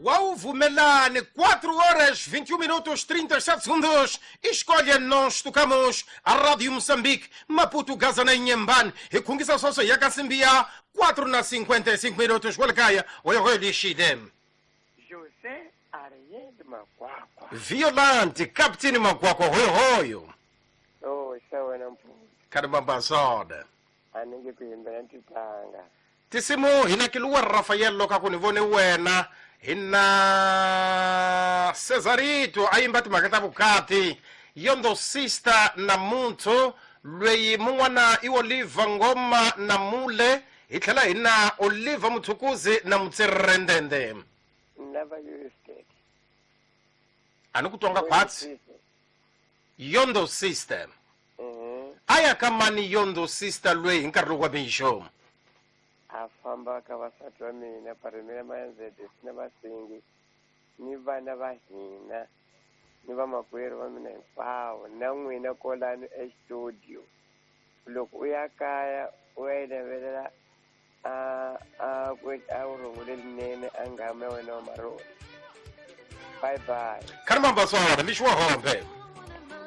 Wauvumelani 4 horas 21 minutos 37 segundos. Escolha nós tocamos a Rádio Moçambique, Maputo, Gaza na Inhambane. E khungisa sweswo ya ka Simbiya 4 na 55 minutos. Kwalekaya hoyohoyo lixile. José Ariel Makwakwa. Violante, Captain Makwakwa hoyohoyo. Oh, xa wena mpfula. Karibambazona. A ni nge ku yimbela ni titlanga. Tisimu hina Kiluwa Rafael loko ku ni vone wena hina Cesarito a yimba timhaka ta vukati yondo sister namuntlha lweyi mun'wana i Oliver Ngoma na Mule hi tlhela hi na Oliver Muthukuzi na Mutsirendende. Ni lava Houston. A ni ku twanga khwatsi. Yondo sister. A ya ka mani yondo sister lweyi hi nkarhi lowu wa mixo? A famba ka vasati va mina Paremela Mayanzede na Vasingi ni vana va hina ni vamakwerhu va mina hinkwavo na n'wina kolani estudio. Loko u ya kaya u ya yi navelela a a ku a vurhongo lelinene a nghamu ya wena wa maroni. Bye bye. Kharimamba swona mixo wa hombe.